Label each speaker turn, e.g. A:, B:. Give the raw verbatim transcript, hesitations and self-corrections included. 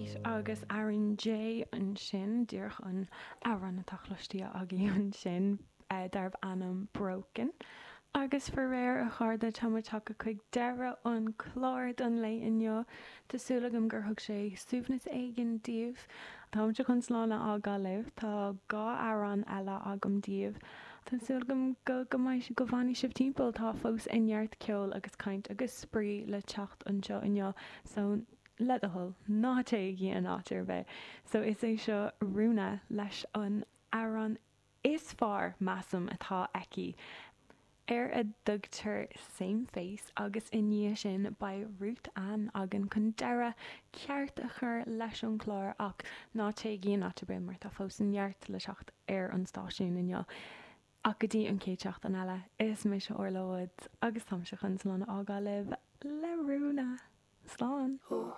A: Kate agus Aaron Jay ansin díreach an amhrán atá cloiste agaibh ansin uh, darbh ainm Broken. Agus faraor a chairde tá muid tagtha chuig deireadh an chlár don lá inniu Tá súil agam gur thug sé suaimhneas éigin daoibh. Táimse chun slán a fhágáil libh tá dhá amhrán eile agam daoibh. Tá súil agam go go mbeidh go bhfanfaidh sibh timpeall tá fós neart ceoil agus caint agus spraoi le teacht anseo inniu so le do thoil ná téigí in áit ar bith. So is é seo Rúna leis an amhrán is fearr measaim atá aici. Ar a dtugtar Same Face agus i ndiaidh sin beidh Ruth Ann againn chun deireadh ceart a chur leis an chlár ach ná téigí in áit ar bith mar tá fós neart le teacht ar an stáisiún inniu. Ach go dtí an chéad seachtain eile is mise Orla Woods agus táimse chun slán a fhágáil libh le Rúna. Slán.
B: Oh,